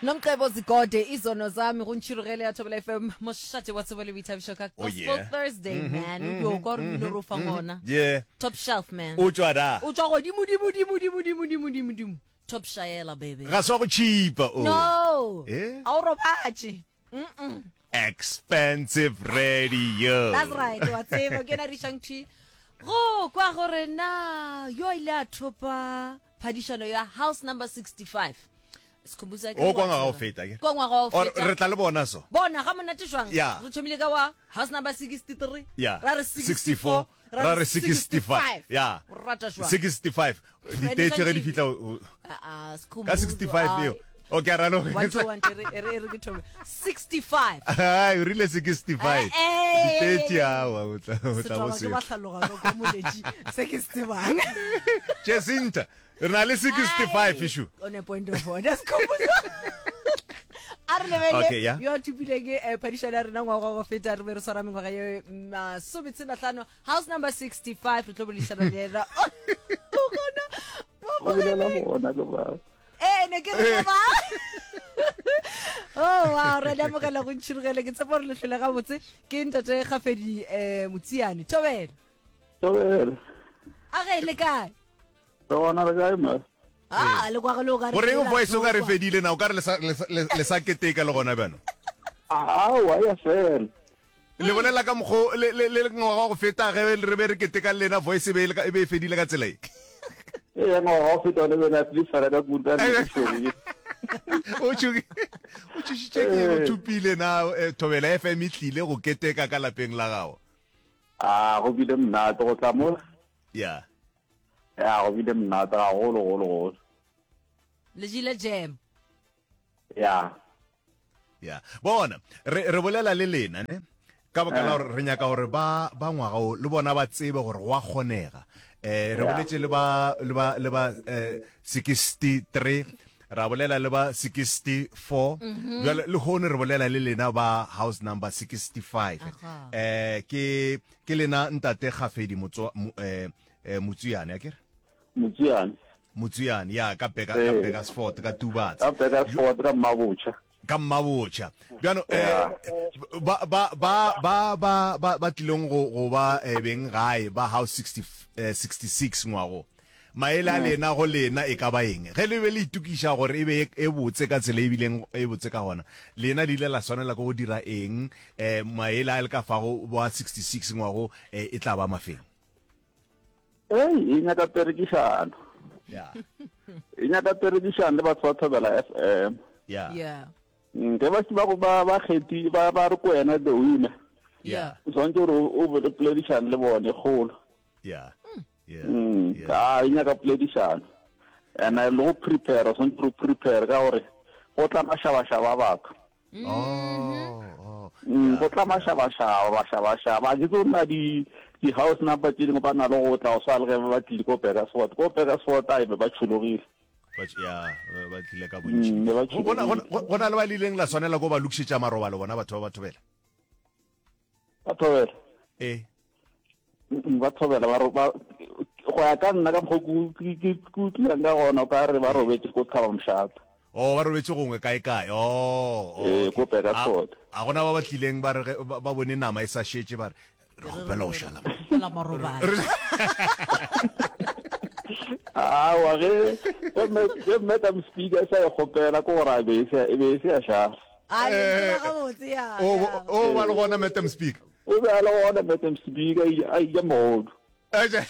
Nomcebo Zikode izono zami go ntšhirogele ya Thobela FM mošate wa tsebo le boithabišo ka Oh, Gospel yeah. Thursday man o dio kwa gore mmino re o fang ona Yeah. top shelf man O tšwa da. o tšwa godimo dimo dimo dimo dimo dimo dimo dimo top shaela baby Ga se wa go cheapa o. no Eh? a o robatše Expensive radio. That's right, wa tseba ke na Rishang T. Go kwa gore na yo ile a thopa phadišano ya house number 65. Sikhumbuzo ke O kwa ngwaga o feta ke. Kwa ngwaga o Or feta. re tla le bona so. Bona ga monate jwang. Yeah. Re thomile ka wa house number 63. Yeah. Ra re 64. 64 ra re 65. Yeah. O rata jwang? 65 diteetše ge di fihla o- o- Ah, ah, ka Sikhumbuzo, 65 eo. ai. Okay, ra no. One, two, one, e re- e re- e re ke thome. 65. Ai, o rile 65. Eh, eh, Diteetše eh, eh. awa o tla o tla bo Setšhaba ke se. ba hlaloga ka moletši se ke se tsebang. Jacinta, re na le 65 issue. On a point of order, Sikhumbuzo. A re lebele Okay, yeah. yo a thopileng eh, phadišano ya rena ngwaga wa go feta re be re swara mengwaga ye masometshelahlano house number 65 re tlo boledišana le yena o gona O bolela gona ke ba. ee ne ke re ba oh wow re le amogela go ntšhirogele ke tshepa gore le hlole gabotse ke ntate gafedi um motsiane thobela Thobela. a ge le kae Re gona re kae ma? a le kwa le o ka re Goreng voice o ka re fedile fedile na o ka re le sa- le sa- le le sa keteka le gona bjano? Aowa ya fela. Le bolela ka mokgo le le le ngwaga wa go feta ge re be re keteka le lena voice e be e le ka- e be e fedile ka tsela e. Ee ngwaga wa go feta one bena le tshwara ka kudu ka nnete tšhogi. O tšhogi o tšhošitše ke o thopile na eh, Thobela FM e tlile go keteka ka lapeng la gago. A go bile monate go tla mola. Yeah. Ya go bile monate gagolo golo golo. Le jele jam. Ya. Ya. Bona, re, re bolela le lena, ne? Ka baka la gore re nyaka gore ba, ba ngwaga o, le bona ba tsebe gore go a kgonega. Eh, re boletše le ba, le ba, le ba, eh, 63, ra bolela le ba 64, bjale lehono re bolela le lena ba house number 65. Aha. Eh, ke, ke lena ntate Kgafedi Motswa, mo, eh, eh, Motswiane, akere? Motswiane. Motswiane, ya, ka Beka, ka Ee. Burgersfort, ka Tubatse. Ka Burgersfort, ka Mmabotšha. Ka Mmabotšha. Bjano, eh, ba, ba, ba, ba, ba, ba, ba tlileng go, go ba eh, beng gae, ba house 60, eh, 66 ngwago. Maele a lena go lena e ka ba eng? Ge le be le itokiša gore e be e, e botse ka tsela e bileng e botse ka gona, lena le ile la swanela ke go dira eng? Eh, maele a le ka fago ba 66 ngwago eh, e tla ba mafeng? Ei, e nyaka perekišano. Yeah. E nyaka perekišano le batho ba Thobela FM. Yeah. Yeah. Mm, ge ba se ba ba ba kgethi ba ba re ko wena the winner. Yeah. O tshwanetse gore o be le poledišano le bone kgolo. Yeah. Yeah. Mm, Yeah. a e nyaka poledišano. And le go prepare, o tshwanetse gore o prepare ka gore go tla mašabašaba a batho. Oh, oh. Mm, go tla mašabašaba mašabašaba a ke tse nna di di-house number tse dingwe ba na le go tla go swa le ge ba tlile ko Burgersfort ko Burgersfort a e be ba tšhologile Ba tš- ya ba ba tlile ka bontši Mm, be ba Go- gona- tšhologile. gona- go na le ba le ileng la swanela ko ba lokišetša marobalo bona batho ba ba thobela ba thobela ee Mm, ba thobela ba ro- ba go ya ka nna ka mokgwa ke ke- ke utlwileng ka gona o ka re ba robetse ko thaba mošate o ba robetse gongwe kae kae oh, oh, Ee, okay. ko Burgersfort. A- a gona ba ba tlileng ba re ge- ba ba bone nama e sa šetše ba re re kgopela go šala mo." Kgopela marobalo. awa ge ge mme- ge madam speaker e sa e kgopela ke gore a be e se- e be e se ya šala A le tseba gabotse ya. o ya. o ba le gona madam speaker O be a le gona Madam Speaker a eja mogodu. Ene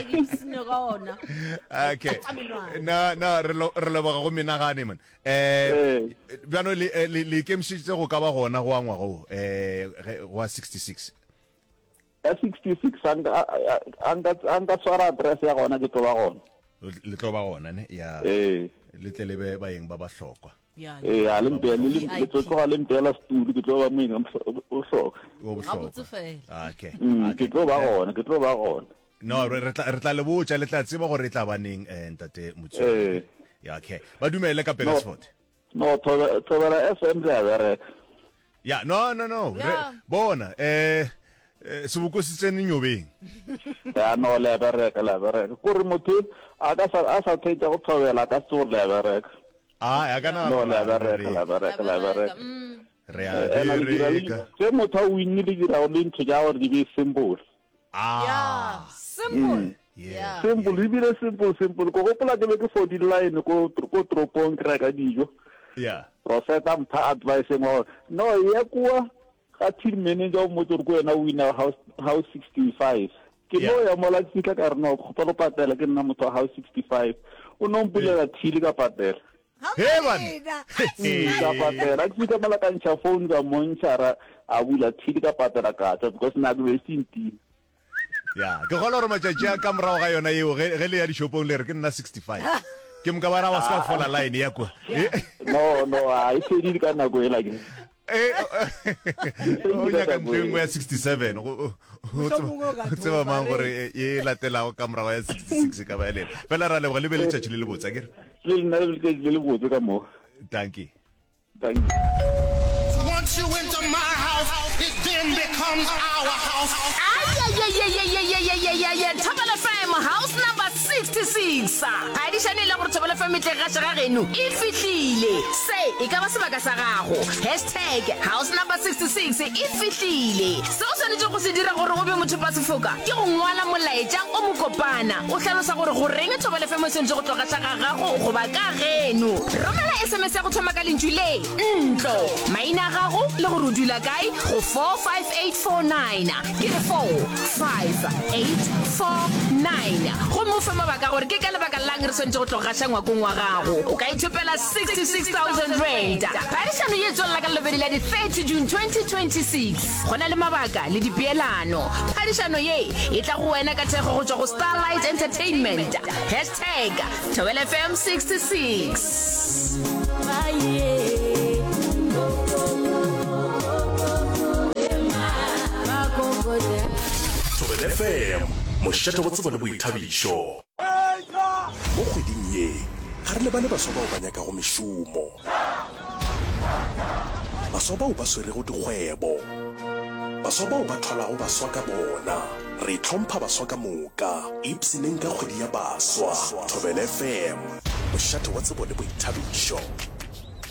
ke ipshinne ka ona. Okay. Na na re lo- re leboga go menagane man. Eh Ee. bjano le eh, le le ikemišeditse go ka ba gona go a ngwaga wo eh ge- go a 66. Ya 66 a nka a- a nka a nka tshwara address ya gona ke tlo ba gona. Le tlo ba gona ne ya Ee. le tle le be baeng ba bahlokwa. Ee, a le mpe, le, le tlo tloga le mpeela setulu, ke tlo ba moeng o bohlokwa. O bohlokwa. Fela. Okay. Mm, ke tlo ba gona, ke tlo ba gona. No, re tla re tla le botša, le tla tseba gore e tla ba neng eh, ntate Motsu. Eh. Ya okay. Ba dumele ka Petersford. No, no Thobela FM re a bereka. Ya, no no no. Re bona eh eh, seboko se tsene nyobeng. Ya no le a bereka, le a bereka. Kore motho a ka sa a sa theetša go Thobela a ka se gore le a bereka. A ya kana No, la bereka, la bereka, la bereka. Re a Ena le dira le bereka. ge motho a winne le dira le ntho tša gore di be simple. Ah. Yeah, simple. Yeah. Yeah. Simple, ebile simple, simple. Ko gopola ke be ke fodile line ko ko toropong ke reka dijo. Yeah. Rosetta mpha advice engwe gore no ya kua ga till manager o mmotse gore ko wena o wina house house 65. Ke no ya mola ke fihla ka re no kgopela go patela ke nna motho wa house 65. O no mpulela till ka patela. He banna. Ka patela ke fihla mola ka ntšha phone ka montšha ra a bula till ka patela ka tšwa because nako be se ntima. Ya, ke kgolwa gore matšatši a ka morago ga yona yeo, ge, ge le ya dishopong le re ke nna 65. Ke moka ba ra wa se ka fola line ya kwa. No, no, a e fedile ka nako ela ke. Eh, o nyaka ntho e nngwe ya 67 go o Mohlomongwe o ka tseba thopa, mang re. gore e latelago ka morago ya 66 e ka ba ya lena. Fela ra leboga le be letšatši le lebotse, akere? Le nna le letšatši le lebotse ka moka. Dankie. Thank you. Once you enter my house, it then becomes our house. Ayayayayayayayayaya Thobela FM house number 66. Phadišano e le gore Thobela FM e tle gaša ga geno e fihlile. Se e ka ba sebaka sa gago. Hashtag house number 66 e fihlile. Se o swanetšego go se dira gore o be mothopasefoka ke go ngwala molaetša o mokopana o hlalosa gore goreng Thobela FM e swanetše go tlo gaša ga gago goba ka geno. Romela SMS ya go thoma ka lentšu le, ntlo, maina a gago le gore o dula kae go 45849. Ke re 45849. Gomme o fe mabaka gore ke ka lebaka la'ng re swanetše go tlo gaša ngwakong wa gago. O ka ithopela R66,000. Phadišano ye e tswelela ka Lobedi la di 30 June 2026. Go na le mabaka le dipeelano. Phadišano ye e tla go wena ka thekgo go tšwa go Starlight Entertainment. Hashtag Thobela FM 66. Thobela FM, mošate wa tsebo le boithabišo. Mo kgweding ye, ga re lebale baswa bao ba nyakago mešomo, baswa bao ba swerego dikgwebo, baswa bao ba thwalago baswa ka bona. Re hlompha baswa ka moka. Ipshineng ka kgwedi ya baswa. Thobela FM, mošate wa tsebo le boithabišo.